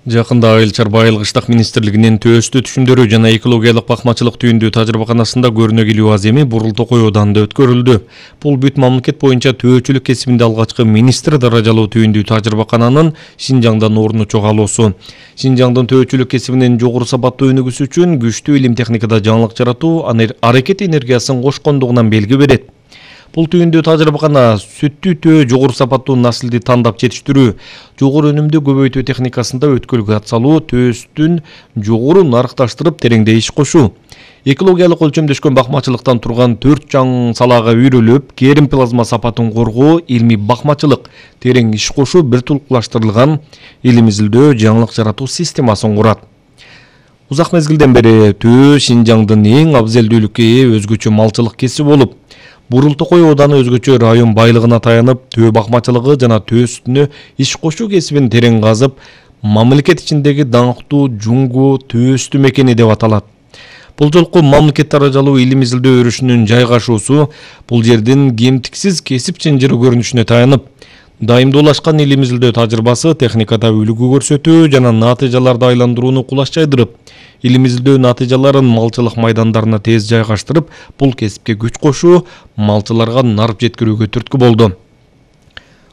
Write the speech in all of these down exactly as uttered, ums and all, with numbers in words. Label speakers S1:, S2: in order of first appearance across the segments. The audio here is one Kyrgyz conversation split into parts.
S1: Жакында Айыл чарба айылгычтык министрлигинин төстү түшүмдөрү жана экологиялык бакмачылык түйүндүү тажрыйбаканасында көрнөгүлүү аземи Бурул Токой Ооданында өткөрүлдү. Бул бүт мамлекет боюнча төөчүлүк кесибинде алгачкы министр даражалуу түйүндүү тажрыйбакананын Шинжаңдан орну чогалуусу. Шинжаңдын төөчүлүк кесибинин жогору сапаттуу өнүгүүсү үчүн күчтүү илим техникада жаңылык жаратуу аракет энергиясын кошкондугунан белги берет. Бул түйүндүү тажрыйбакана сүттүү төө жогору сапаттуу наслди тандап жетиштирүү, жогору өнүмдүү көбөйтүү техникасында өткөлгө ат салуу, төөстүн жогору нарыкташтырып тереңде иш кошуу. Экологиялык өлчөмдөшкөн бакмачылыктан турган төрт жаң салаага үйрөлүп, керим плазма сапатын коргоо, илмий бакмачылык, терең иш кошуу бир тулукташтырылган илим изилдөө, жаңылык жаратуу системасын курат. Узак мезгилден бери төө Шинжаңдын эң абзелдүүлүккө ээ өзгөчө малчылык кесип болуп, Бурул Токой Ооданы өзгөчө район байлыгына таянып, төө бакмачылыгы жана төө сүтүнө иш кошуу кесибин терең казып, мамлекет ичиндеги даңктуу жуңгу төөстү мекени деп аталат. Бул жолку мамлекет даражалуу илим изилдөө өрүшүнүн жайгашуусу бул жердин кемтиксиз кесип чынжыры көрүнүшүнө таянып, дайымдуулашкан илим изилдөө тажрыйбасы техникада үлгү көрсөтүү жана натыйжаларды айландырууну кулаш жайдырып, илим изилдөө натыйжаларын малчылык майдандарына тез жайгаштырып, бул кесипке күч кошуу, малчыларга нарып жеткирүүгө түрткү болду.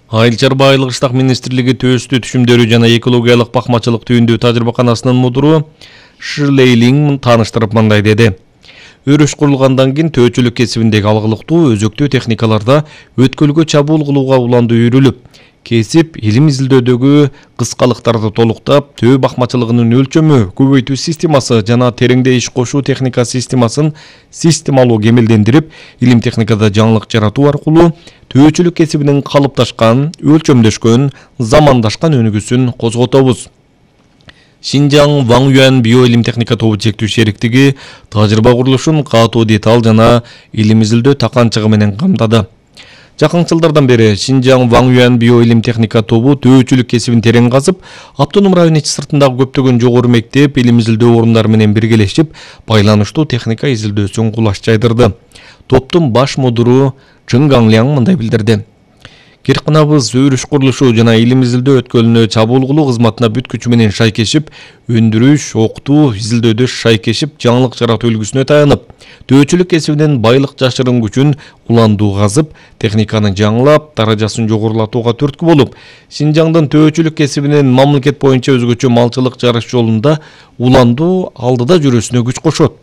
S1: Айыл чарба айылгычтык министрлиги төөстү түшүмдөрү жана экологиялык бакмачылык түйүндүү тажрыйбаканасынын мудуру Ширлей Линг тааныштырып мындай деди. Өрүш курулгандан кийин төөчүлүк кесибиндеги алгылыктуу өзөктүү техникаларда өткөлгө чабуул кылууга уланды үйрүлүп, кесип илим изилдөөдөгү кыскалыктарды толуктап, төө бакмачылыгынын өлчөмү, көбөйтүү системасы жана тереңде иш кошуу техника системасын системалуу кемелдендирип, илим техникада жаңылык жаратуу аркылуу төөчүлүк кесибинин калыпташкан, өлчөмдөшкөн, замандашкан өнүгүүсүн козготобуз. Шинжаң Ван Юан биоилим техника тобу чектүү шериктиги тажрыйба курулушун катуу деталь жана илим изилдөө таканчыгы менен камдады. Жакын жылдардан бери Шинжаң Ван Юан биоилим техника тобу төөчүлүк кесибин терең казып, Автоном район ичи сыртындагы көптөгөн жогору мектеп, илим изилдөө орундары менен биргелешип, байланыштуу техника изилдөөсүн кулаш жайдырды. Топтун баш мудуру Чын Ганляң мындай билдирди. Киркынабыз өрүш курулушу жана илим изилдөө өткөлүнө чабуул кылуу кызматына бүт күчү менен шайкешип, өндүрүш, окутуу, изилдөөдө шайкешип, жаңылык жаратуу үлгүсүнө таянып, төөчүлүк кесибинин байлык жашырын күчүн уландуу казып, техниканы жаңылап, даражасын жогорулатууга түрткү болуп, Шинжаңдын төөчүлүк кесибинин мамлекет боюнча өзгөчө малчылык жарыш жолунда уландуу алдыда жүрүүсүнө күч кошот.